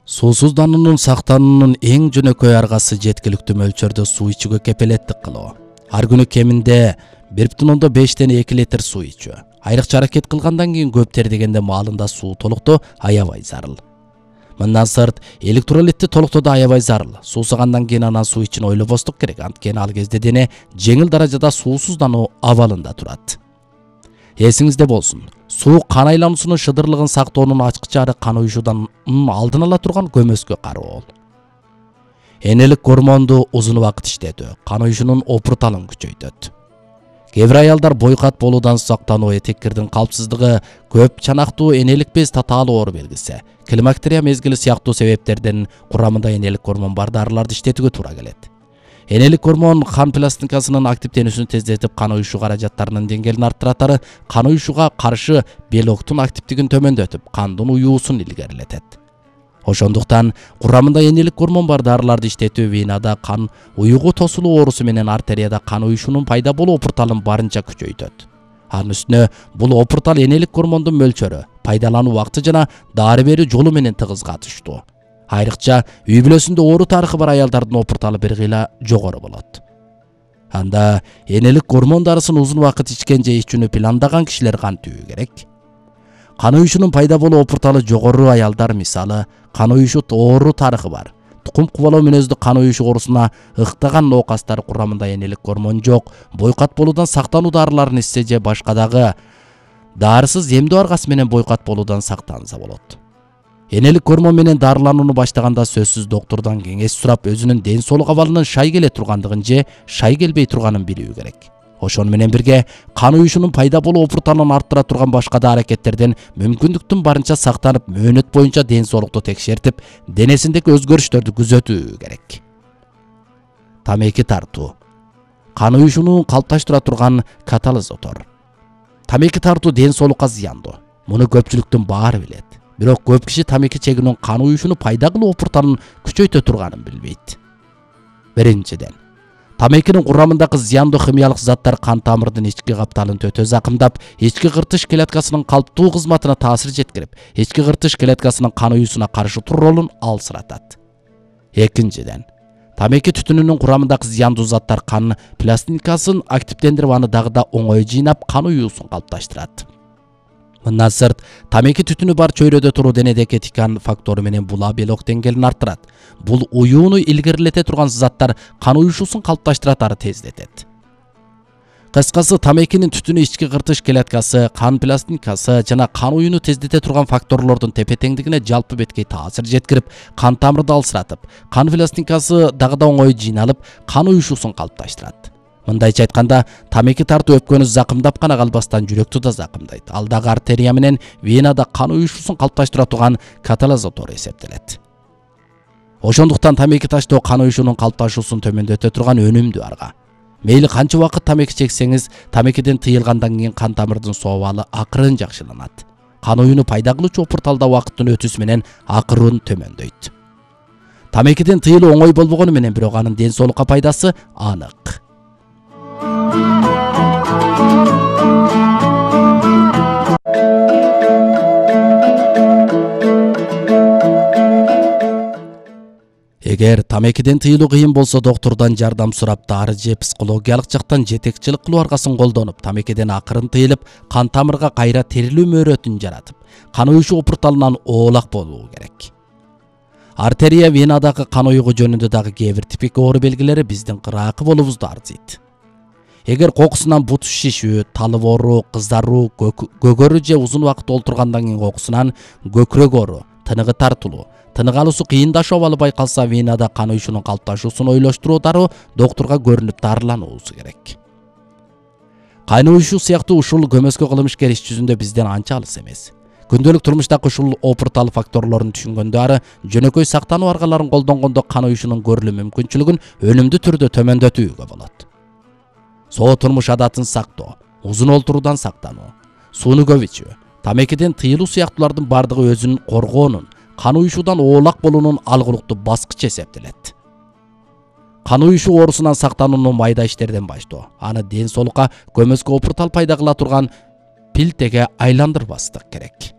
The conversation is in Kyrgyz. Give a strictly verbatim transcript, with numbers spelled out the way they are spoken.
Суусуздануунун сактануунун эң жөнөкөй аргасы жеткиликтүү мөлчөрдө суу ичүүгө кепилеттик кылуу. Ар күнү кеминде бир бүтүн ондон бештен эки литр суу ичүү. Айрыкча аракет кылгандан кийин көп тер дегенде маалында суу толуктоо аябай зарыл. Мындан сырт электролитти толуктоодо аябай зарыл. Суусагандан кийин анан суу ичин ойлобостук керек. Анткени ал кезде дене жеңил даражада суусуздануу абалында турат. Эсиңизде болсун. Суу кан айлануусунун шыдырлыгын сактоонун ачкычы ары кан уюшуудан алдын ала турган көмөскө кароо. Энелик гормонду узун убакыт иштетүү кан уюшуунун опурталын күчөйтөт. Кээ бир аялдар бойкат болуудан сактануу, этеккирдин калпсыздыгы, көп чанактуу энелик без татаалуу оору белгиси, климактерия мезгили сыяктуу себептерден курамында энелик гормон бар дарыларды иштетүүгө туура келет. Энелик гормон кан пластинкасынын активденүүсүн тездетип, кан уюшуу каражаттарынын деңгээлин арттырат, кан уюшууга каршы белоктун активдигин төмөндөтүп, кандын уюусун илгерилетет. Ошондуктан курамында энелик гормон бар дарыларды иштетүү венада кан уюгу тосулуу оорусу менен артерияда кан уюшуунун пайда болуу опурталын барынча күчөйтөт. Анын үстүнө бул опуртал энелик гормондун мөлчөрү, пайдалануу убакыты жана дары берүү жолу менен тыгыз катыштуу. Айрыкча үй бүлөсүндө оору тарыхы бар аялдардын опурталы бир кыйла жогору болот. Анда энелик гормон дарысын узун убакыт ичкен же ичүүнү пландаган кишилер кантүү керек? Кан уюшуунун пайда болуу опурталы жогору аялдар, мисалы, кан уюшуу оору тарыхы бар, тукум кубалоо мүнөздүү кан уюшуу оорусуна ыктаган ноокастар курамында энелик гормон жок, бойкат болуудан сактануу дарыларын ичсе же башка дагы дарысыз эмдөө аргасы менен бойкат болуудан сактанса болот. Энелик гормон менен дарыланууну баштаганда сөзсүз доктурдан кеңеш сурап, өзүнүн ден соолук абалынын шай келе тургандыгын же шай келбей турганын билүү керек. Ошону менен бирге кан уюшуунун пайда болуу опурталын арттыра турган башка да аракеттерден мүмкүндүктүн барынча сактанып, мөөнөт боюнча ден соолукту текшертип, денесиндеги өзгөрүштөрдү күзөтүү керек. Тамеки тартуу. Кан уюшууну калыпташтыра турган катализатор. Тамеки тартуу ден соолукка зыяндуу. Муну көпчүлүктүн баары билет. Бирок көп киши тамеки чегүүнүн кан уюшууну пайда кылуу опурталын күчөйтө турганын билбейт. Биринчиден, тамекинин курамындагы зыяндуу химиялык заттар кан тамырдын ички капталын төтө закымдап, ички кыртыш клеткасынын калыптуу кызматына таасир жеткирип, ички кыртыш клеткасынын кан уюусуна каршы туруу ролун алсыратат. Экинчиден, тамеки түтүнүнүн курамындагы зыяндуу заттар кан пластинкасын активдендирип, аны дагы да оңой жыйнап, кан уюусун калыпташтырат. Мындан сырт, тамеки түтүнү бар чөйрөдө туруу денедеги этикан фактору менен була белок деңгээлин арттырат. Бул уюуну илгерилете турган заттар кан уюшуусун калыпташтырат, ары тездетет. Кыскасы, тамекинин түтүнү ички кыртыш клеткасы, кан пластинкасы жана кан уюуну тездете турган факторлордун тепе-теңдигине жалпы беткей таасир жеткирип, кан тамырды алсыратып, кан пластинкасы дагы да оңой жыйналып, кан уюшуусун калыпташтырат. Мындайча айтканда, тамеки тартуу өпкөнү закымдап гана калбастан жүрөктү да закымдайт. Ал дагы артерия менен венада кан уюшуусун калыпташтыра турган катализатор эсептелет. Ошондуктан тамеки таштоо кан уюшуунун калыпташуусун төмөндөтө турган өнүмдүү арга. Мейли канча убакыт тамеки чексеңиз, тамекиден тыйылгандан кийин кан тамырдын соо абалы акырын жакшыланат. Кан уюуну пайда кылуучу опурталда убакыттын өтүүсү менен акырын төмөндөйт. Тамекиден тыйылуу оңой болбогону менен, бирок анын ден соолукка пайдасы анык. Эгер тамекиден тыйылуу кыйын болсо, доктурдан жардам сурап, дары же психологиялык жактан жетекчилик кылуу аргасын колдонуп, тамекиден акырын тыйылып, кан тамырга кайра терилүү мөөрөтүн жаратып, кан уюшуу опурталынан оолак болуу керек. Артерия венадагы кан уюгу жөнүндө дагы кээ бир типик оору белгилери биздин кыраакы болуубузду арзыйт. Эгер кокусунан бут шишүү, талып оору, кызаруу, көгөрүү же узун убакыт олтургандан кийин кокусунан көкүрөк оору, тыныгы тартылуу, тынык алуусу кыйындашуу абалы байкалса, венада кан уюшуунун калыпташуусун ойлоштуруу дароо доктурга көрүнүп дарылануусу керек. Кан уюшуу сыяктуу ушул көмөскө кылмышкер иш жүзүндө бизден анча алыс эмес. Күндөлүк турмуштагы ушул опуртал факторлорун түшүнгөндө, ары жөнөкөй сактануу аргаларын колдонгондо кан уюшуунун көрүлүү мүмкүнчүлүгүн өнүмдүү түрдө төмөндөтүүгө болот. Соо турмуш адатын сактоо, узун олтуруудан сактануу, сууну көп ичүү, тамекиден тыйылуу сыяктуулардын бардыгы өзүн коргоонун, кан уюшуудан оолак болуунун алгылыктуу баскычы эсептелет. Кан уюшуу оорусунан сактанууну майда иштерден баштоо, аны ден соолукка көмөскө опуртал пайда кыла турган пилтеге айландырбастык керек.